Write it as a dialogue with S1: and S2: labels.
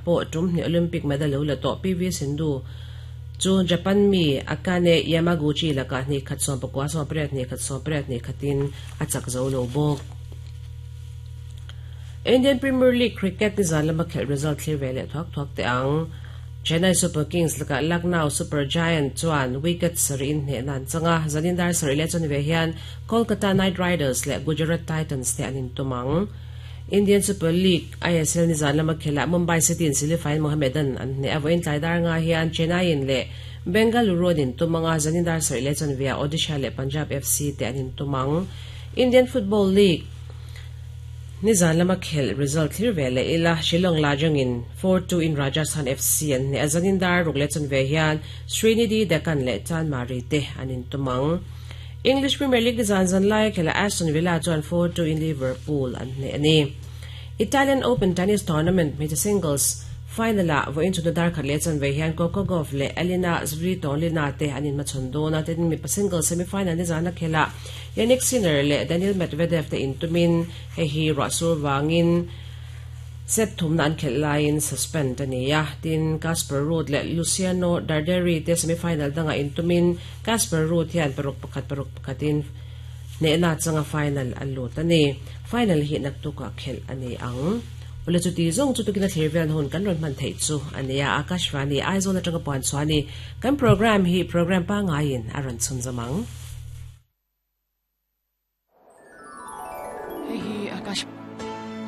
S1: pawh tum hnih Olympic medal lo la tawh PV Sindhu chu Japan mi Akane Yamaguchi lakah hnih khat 19 18 hnih khat 18 hnih khatin a chak zo lo bawk. Indian Premier League cricket nizan lama khelh result thlir ve leh thuak thuak teh ang. Chennai Super Kings lakah Lucknow Super Giant chuan wicket sarih in hnehna an chang a, zanin dar sarih leh chuan ve hian Kolkata Knight Riders leh Gujarat Titans te an intum ang. Indian Super League, ISL, nizan lama khelhah Mumbai City in Silifain Mohammedan an hneh a, vawiin tlai dar nga hian Chennaiin leh Bengaluru an intum ang a, zanin dar sarih leh chuan veah Odisha leh Punjab FC te an intum ang. Indian Football League, Nizan lama khelh result thlir ve leh ila, Shillong Lajong-in 4-2 in Rajasthan FC an hneh a, zanin dar ruk leh chanve hian Srinidhi Deccan leh Chanmari te an intum ang. English Premier League nizan zan laia khelhah Aston Villa chuan 4-2 in Liverpool an hneh a ni. Italian Open tennis tournament hmeichhe singles final-ah vawiin chhunna dar khat leh chanve hian Coco Gauff leh Elina Svitolina te an inhmachhawn dawn a, tin mipa singles semi-final nizana khelhah Jannik Sinner leh Daniil Medvedev te intumin hei hi ruahsur vangin set thumna an khelh laiin suspend a ni a. Tin, Casper Ruud leh Luciano Darderi te semi-final dangah intumin Casper Ruud hian paruk pakhat paruk pakhatin hnehna changa final a lut a ni. Final hi naktukah khelh a ni ang. Awle chuti zawng chu tukin a thlir velna hun kan rawn hman theih chu a nia. Akashvani, Aizawl atanga puan chhuah a ni. Kan programme hi programme pangaiin a rawn chhunzawm ang.